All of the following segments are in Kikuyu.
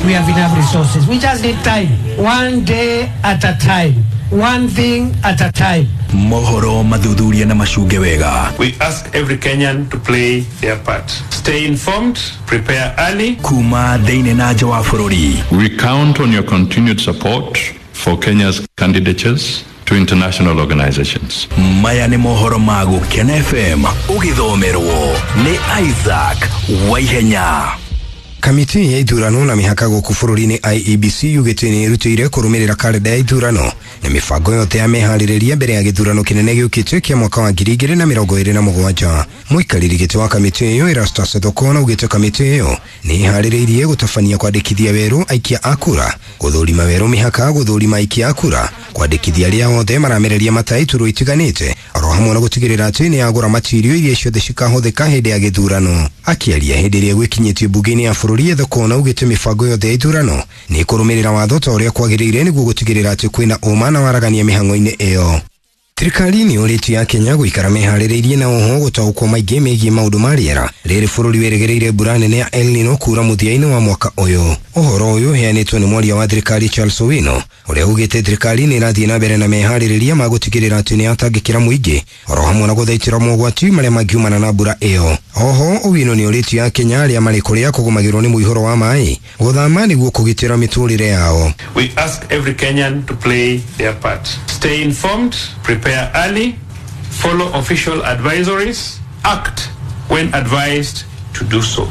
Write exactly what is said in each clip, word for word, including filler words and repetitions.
We have enough resources. We just need time. One day at a time. One thing at a time. Mohoro mathuthuria na macunge wega. We ask every Kenyan to play their part. Stay informed, prepare early. Kuma thĩinĩ na nja wa bũrũri. We count on your continued support for Kenya's candidatures to international organizations. Maya nĩ mohoro ma Gũkena F M ũgĩthomerwo nĩ Isaac Waihenya. Kamiti ya ithurano na mĩhaka gũkũ bũrũri-inĩ I E B C yugĩte nĩ ĩrutĩire kũrũmĩrĩra karenda ya ithurano na mĩbango yothe ya meharĩrĩria mbere ya gĩthurano kĩnene gĩũkĩte kĩa mwaka wa ngiri igĩrĩ na mĩrongo ĩrĩ na mũgwanja. Mũikarĩri gĩtĩ wa kamĩtĩ ĩyo Erastus Thokona augĩte kamĩtĩ ĩyo nĩ ĩharĩrĩirie gũtabania kwandĩkithia werũ aikia a kura, gũthũrima werũ mĩhaka, gũthũrima aikia a kura, kwandĩkithia arĩa othe maramereria mata iturwa itiganĩte, oro hamwe na gũtigĩrĩra atĩ nĩ yagũra matirio iria ciothe cikahũthĩka hĩndĩ ya gĩthurano. Akĩaria hĩndĩ ĩrĩa gwĩkinyĩtio mbunge-inĩ ya bũrũri, Thokona augĩte mĩbango yothe ya ithurano nĩ ĩkũrũmĩrĩra watho ta ũrĩa kwagĩrĩire nĩguo gũtigĩrĩra atĩ kwĩna ũma na waragania mĩhang'o-inĩ ĩyo. Thirikari nĩ yũrĩtie ya Kenya gũikara meharĩrĩirie na oho gũtaũkwo maingĩ megiĩ maũndũ ma rĩera rĩrĩ bũrũri wĩrĩgĩrĩire mbura nene ya El Nino kura mũthia-inĩ wa mwaka ũyũ. Ũhoro ũyũ ũheanĩtwo nĩ mwaria wa thirikari Charles Owino ũrĩa ugĩte thirikari nĩ ĩrathiĩ na mbere na meharĩrĩria ma gũtigĩrĩra atĩ nĩ yatangĩkĩra mũingĩ oro hamwe na gũthaitĩra mogwati marĩa mangiumana na mbura ĩyo. Oho Owino nĩ ũrĩtie ya Kenya arĩa marĩ kũrĩa kũgũmagĩrwo nĩ mũihũro wa maĩ gũthama nĩguo kũgitĩra mĩtũrĩre yao. We ask every Kenyan to play their part. Stay informed, prepare early, follow official advisories, act when advised to do so.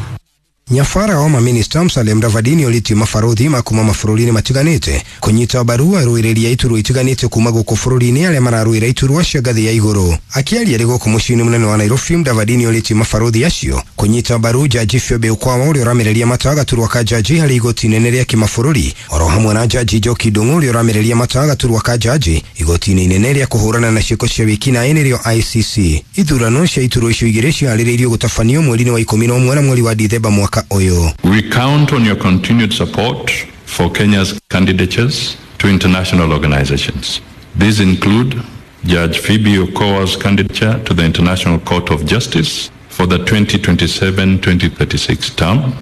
Nyafara wa maminista Musalia Mudavadi nĩorĩtie mabarũthi ma kuma mabũrũri-inĩ matiganĩte kũnyita mbaru arũĩrĩri a iturwa itiganĩte kuma gũkũ bũrũri-inĩ arĩa mararũĩra iturwa cia ngathĩ ya igũrũ. Akĩaria arĩ gũkũ mũciĩ-inĩ mũnene wa Nairobi, Mudavadi nĩorĩtie mabarũthi acio kũnyita mbaru Jaji Phoebe Ukwawa ũrĩa ũramereria mata gaturwa ka jaji harĩ igoti inene rĩa kĩmabũrũri, oro hamwe na Jaji Njoki Ndung'u ũrĩa ũramereria mata gaturwa ka jaji igoti-inĩ inene rĩa kũhũrana na ciĩko cia wĩkinaĩ nĩrĩo I C C. Ithurano cia iturwa icio igĩrĩ ciharĩrĩirio gũtabanio mweri-inĩ wa ikũmi na ũmwe na mweri wa Dithemba mwaka ũyũ. We count on your continued support for Kenya's candidatures to international organizations. These include Judge Phoebe Okowa's candidature to the International Court of Justice for the twenty twenty-seven twenty thirty-six term.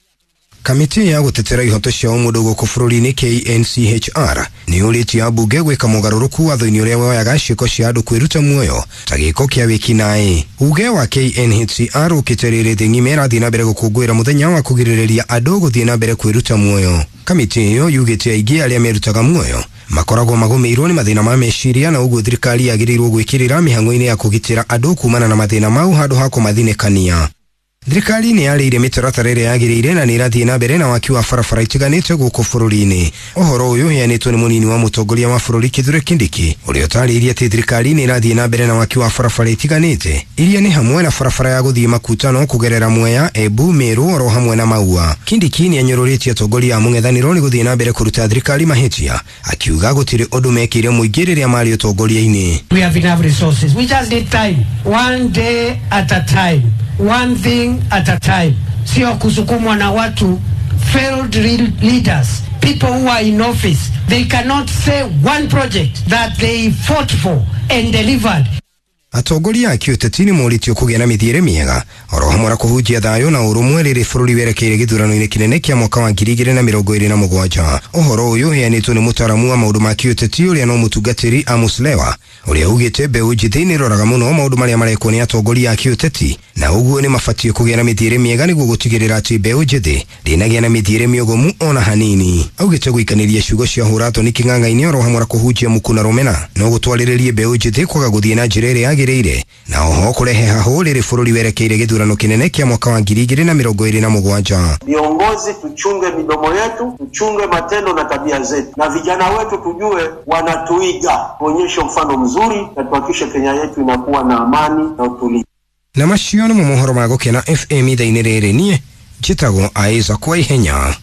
Kamiti ya gũtetera ihoto cia ũmũndũ gũkũ bũrũri-inĩ K N C H R nĩ yũrĩtie ambunge gwĩka mũgarũrũku watho-inĩ ũrĩa woyaga ciĩko cia andũ kwĩruta muoyo ta gĩko kĩa wĩkinaĩ. Uge wa K N H C R ũkĩte rĩrĩ thĩ ng'ima ĩrathiĩ na mbere gũkũngũĩra mũthenya wa kũgirĩrĩria andũ gũthiĩ na mbere kwĩruta muoyo. Kamiti ĩyo yugĩte aingĩ arĩa merutaga muoyo makoragwo magũmĩirwo nĩ mathĩna ma meciria na ũguo thirikari yagĩrĩirwo gwĩkĩrĩra mĩhang'o-inĩ ya kũgitĩra andũ kumana na mathĩna mau handũ ha kũmathinĩkania. Thirikari nĩ yarĩire mĩtaratara ĩrĩa yagĩrĩire na nĩ ĩrathiĩ na mbere na waki wa barabara itiganĩte gũkũ bũrũri-inĩ. Ũhoro ũyũ ũheanĩtwo nĩ mũnini wa mũtongoria wa bũrũri Kithure Kindiki ũrĩa ũtarĩirie atĩ thirikari nĩ ĩrathiĩ na mbere na waki wa barabara itiganĩte iria nĩ hamwe na barabara ya gũthiĩ Makutano kũgerera Mwea, Embu, Meru oro hamwe na Maua. Kindiki nĩ anyũrũrĩtie atongoria a mũng'ethanĩro nĩ gũthiĩ na mbere kũruta thirikari mahĩtia akiuga gũtirĩ ũndũ mekĩire mũingĩ rĩrĩa marĩ ũtongoria-inĩ. We have enough resources. We just need time. One day at a time. One thing at a time. Sio kusukumwa na watu failed leaders, people who are in office. They cannot say one project that they fought for and delivered. Atongoria a kĩũteti nĩ morĩtio kũgĩa na mĩthiĩre mĩega oro hamwe na kũhunjia thayũ na ũrũmwe rĩrĩ bũrũri werekeire gĩthurano-inĩ kĩnene kĩa mwaka wa ngiri igĩrĩ na mĩrongo ĩrĩ na mũgwanja. Ũhoro ũyũ ũheanĩtwo nĩ mũtaaramu wa maũndũ ma kĩũteti ũrĩa no mũtungatĩri Amos Lewa ũrĩa ugĩte mbeũ njĩthĩ nĩ ĩroraga mũno maũndũ marĩa marekwo nĩ atongoria a kĩũteti na ũguo nĩ mabatiĩ kũgĩa na mĩthiĩre mĩega nĩguo gũtigĩrĩra atĩ mbeũ njĩthĩ ndĩnagĩa na mĩthiĩre mĩogomu ona hanini. Augĩte gũikanĩria ciugo cia hũra-thoni kĩng'ang'a-inĩ oro hamwe na kũhunjia muku na rũmena no gũtwarĩrĩrie mbeũ njĩthĩ kwaga gũthiĩ na njĩra ĩrĩa yagĩrĩire na oho kũrehe hahũ rĩrĩ bũrũri werekeire gĩthurano kĩnene kĩa mwaka wa ngiri igĩrĩ na mĩrongo ĩrĩ na mũgwanja. Viongozi tuchunge midomo yetu, tuchunge matendo na tabia zetu, na vijana wetu tujue wanatuiga, tuonyeshe mfano mzuri na tuhakikishe Kenya yetu inakuwa na amani na utulivu. Na macio nĩ mohoro ma Gũkena F M ithaa-inĩ rĩrĩ, niĩ njĩtagwo Isaac Waihenya.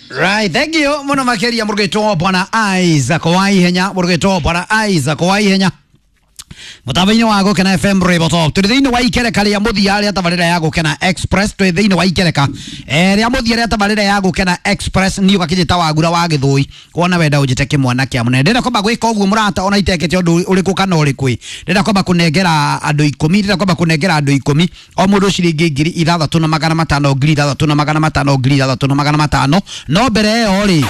Right, thank you muno makeria murugitwo bwana Isaac Waihenya, murugitwo bwana Isaac Waihenya. Mutambo-inĩ wa Gũkena F M Rwĩmbo Top. Tũrĩ thĩinĩ wa ikereka rĩa mũthia rĩa tabarĩra ya Gũkena Express. Twĩ thĩinĩ wa ikereka eh, rĩa mũthia rĩa tabarĩra ya Gũkena Express. Niĩ ũgakĩnjĩta Wagura wa Gĩthũi, wona wenda ũnjĩte kĩmwana kĩa mũnene. Ndĩrenda kwamba gwĩka ũguo mũrata, ona itekĩte ũndũ ũrĩkũ kana ũrĩkũ. Ndĩrenda kwamba kũnengera andũ ikũmi, ndĩrenda kwamba kũnengera andũ ikũmi o mũndũ ciringi ngiri ithathatũ na magana matano, ngiri ithathatũ na magana matano, ngiri ithathatũ na magana matano. No mbere ĩyo rĩ,